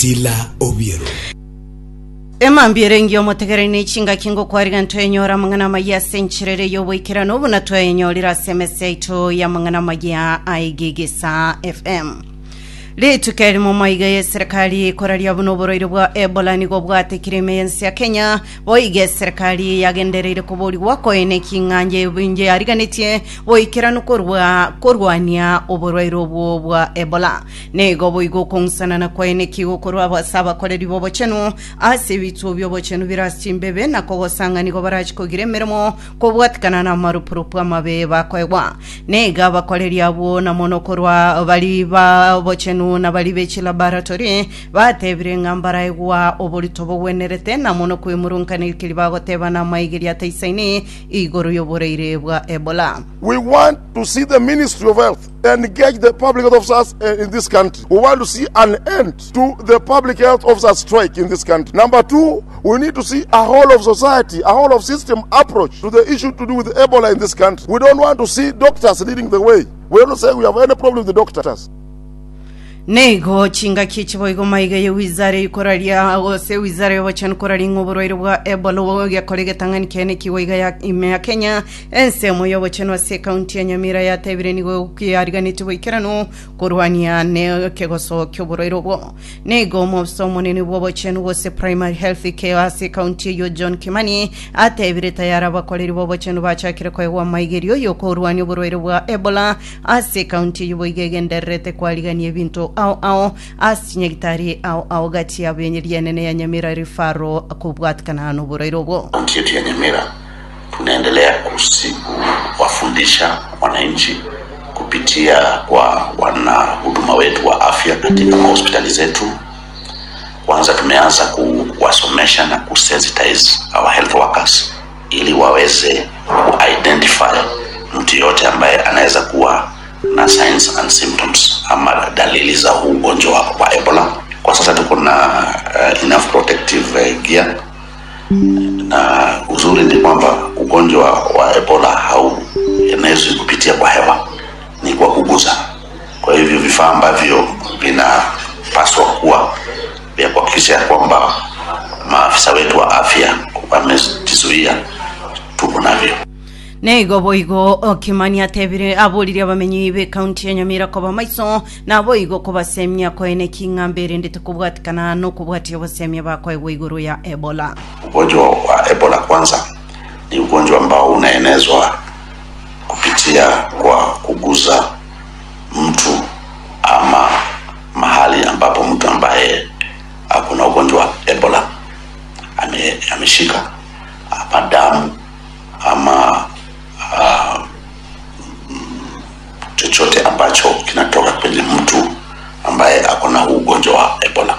Priscilla Obiero. Emambia ere engiya omotegereri ne chingaki ngokwariga ntwenyore amang'ana amaya ase enchera ere y'oboikeranu buna twayenyorire ase emesa yaito y'amang'ana amaya aigigisa FM. Rituko erimo maiga y'eserekari ekoraria buna oborwaire bwa Ebola nigo bwatekire ime y'ense ya Kenya, boigo eserekari yagendereire koborigwa koeneki ng'a nje yariganetie boikeranu korwa korwania oborwaire obwo bwa Ebola. Nigo boigo okong'usanana kwaye neki gokorwa ase abakoreri b'obochenu, ase ebituo bi'obochenu bire ase chimbebe, na kogosa ng'a nigo barache kogira emeremo kobwatikana namarupurupu amabe bakoegwa. Nigo abakoreri abwo na mono korwa baria b'obochenu na baria be chilaboratory batebire ng'a mbaraegwa oborito bogwenerete na mono kwemurunkaneri keria bagoteba namaigerio ataisaini igoro y'oboraire bwa Ebola. We want to see the Ministry of Health engage the public health officers in this country. We want to see an end to the public health officers strike in this country. Number two, we need to see a whole of society, a whole of system approach to the issue to do with Ebola in this country. We don't want to see doctors leading the way. We don't say we have any problem with the doctors. Nigo chingaki echi boigo maiga ye wizara y'okoraria gose wizara y'obochenu koraria ng'a oborwaire bwa Ebola ogekora egetang'ani kiane kigwa iga ya ime ya Kenya ensemo y'obochenu ase ekaunti ya Nyamira yatebire nigo yariganetie boikeranu korwania nekegoso ki'oborwaire obwo. Nigo omobisa omonene bw'obochenu gose Primary Health Care ase ekaunti eyio John Kimani atebire tayari abakoreri b'obochenu bachakire koegwa amaigerio y'okorwania oborwaire bwa Ebola Ase ekaunti eyio boigo egendererete kwarigania ebinto ao ao ase chinyagitari ao ao gati yabo rienene ya Nyamira Referral kobwatikana noborwaire obwo. Kaunti yetu ya Nyamira tunaendelea kuwafundisha wananchi kupitia kwa wanahuduma wetu wa afya katika mahospitali zetu. Kwanza tumeanza kuwasomesha na kusensitize our health workers ili waweze kuidentify mtu yote ambaye anaweza kuwa na signs and symptoms ama dalili za huu ugonjwa wa Ebola. Kwa sasa tuko na enough protective gear na uzuri ni kwamba ugonjwa wa Ebola hauenezwi kupitia kwa hewa, ni kwa kugusa. Kwa hivyo vifaa ambavyo vinapaswa kuwa vya kuhakikisha ya kwamba maafisa wetu wa afya wamejizuia tuko navyo. Nigo boigo Kimani atebire aboririe abamenyi b'ekaunti ya Nyamira koba maiso naboigo kobasemia koeneki ng'a mberendete kobwatikana nokobwatia obosemia bakoegwa igoro ya Ebola. Ugonjwa wa Ebola kwanza ni ugonjwa ambao unaenezwa kupitia kwa kuguza mtu ama mahali ambapo mtu ambaye ako na ugonjwa wa Ebola ameshika ama damu ama chochote ambacho kinatoka kwenye mtu ambaye ako na huu ugonjwa wa Ebola.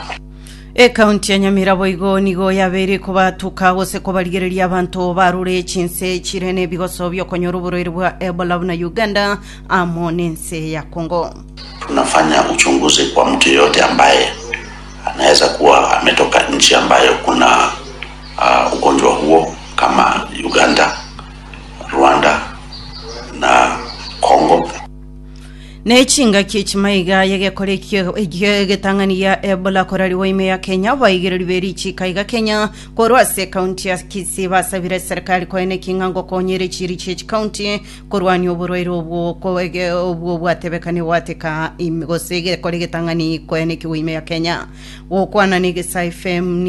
Ekaunti ya Nyamira boigo nigo yabeire kobatuka gose kobarigereria abanto barure chinse chire nebigoso biokonyora oborwaire bwa Ebola buna Uganda amo nense ya Congo. Tunafanya uchunguzi kwa mtu yeyote ambaye anaweza kuwa ametoka nchi ambayo kuna ugonjwa huo kama Uganda, Rwanda na Congo. Ne chingaki chimaiga yegekora egetang'ani gia Ebola korariwa ime ya Kenya baigereri berichika iga Kenya korwa ase ekaunti ya Kisii basabire serikali koeneki ng'a ngokonyere chiri chie chikaunti korwania oborwaire obwo obwo bwatebekani gwateka gose egekora egetang'ani koenekiwa ime ya Kenya gokwana na Egesaa FM.